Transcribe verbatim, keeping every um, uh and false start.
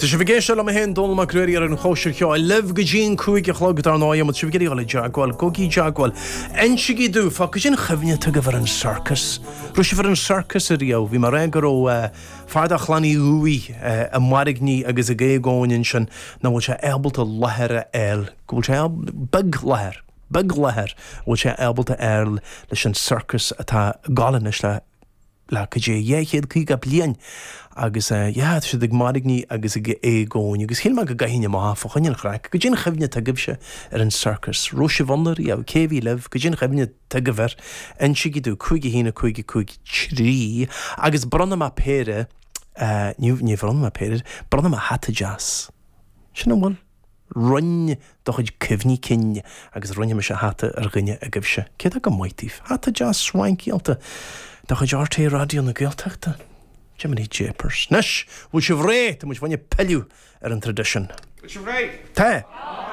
sibh ag éisteacht liom féin Dónall Mac Ruairí ar an Chóisir Cheoil libh go dtí an cúig a chlog dar ndóigh má tá sibh ag iarraidh dul i dteagmháil, gabhaigí i dteagmháil. Insígí domh fá goidé an chuimhne atá agaibh ar an sorcas. Raibh sibh ar an sorcas ariamh, bhí mé ag rá go raibh fear de chlann Uí Dhubhaigh ag mairgní agus ag éagóin ansin nach bhfuil sé ábalta láthair a fháil, go bhfuil sé beag láthair, beag láthair, a bhfuil sé ábalta a fháil leis an sorcas atá ag gabháil anois le le goidé dhá chéad caoga bliain agus yeah tá siad ag mairgní agus ag éagóin agus shíl mé go gcaithfinn amach fá choinne an chraic, goidé an chuimhne atá agaibhse ar an sorcas, raibh sibh ann ariamh, cé a bhí libh, goidé an chuimhne atá agaibh air, insígí domh, cúig a haon a cúig a cúig trí agus bronnfaidh mé péire, ní ní bhronnfaidh mé péire, bronnfaidh mé hata deas. Sin an bhfuil. Roinn do chuid cuimhní cinn agus roinnfidh mise hata ar dhuine agaibhse. Cé atá go maith daoibh? Hata deas swankyáilte de chuid RTÉ Raidió na Gaeltachta. Jiminy Japers. Anois, bhfuil sibh réidh? Tá muid fá choinne pilleadh ar an traidisiún. Bhfuil sibh réidh? Tá!